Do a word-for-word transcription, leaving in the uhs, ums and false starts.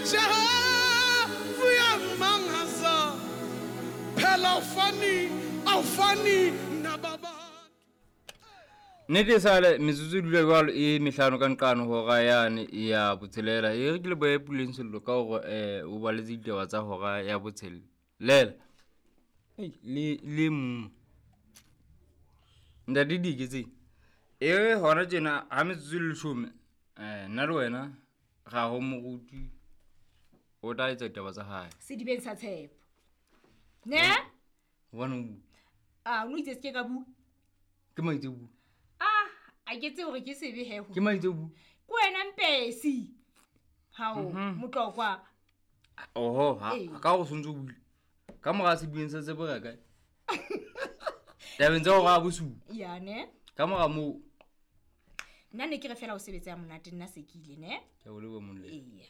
Jehova uyangimangaza phela awufani awufani nababantu. Nnete sale metsotso e dula jwalo e mehlano ka nqano hora yane ya botshelela. E re ke lebohe Puleng Sello ka hore um o baletse ditaba tsa hora ya botshelela. Le le mong ntate dike tse e hona tjena ha metsotso e le leshome, um nna le wena ra ho moruti o tla etsa ditaba tsa hae sedibeng sa tshepo ne. Hobane o bua. A o itse se ke ka bua. Ke maitse o bua. Ah, a ke tsebe hore ke sebe he ho. Ke maitse o bua. Ke wena mpesi hao motlokwa. Oho, ha Ee. ka go sontse o buile ka mora sedibeng sa tshepo re ya kae tabeng tsa hora ya bosupa? Ya ne. Ka mora moo Nna ne ke re fela o sebetsa ya monate, nna se ke ile ne. Ke a o leboha, Molemo. Eya.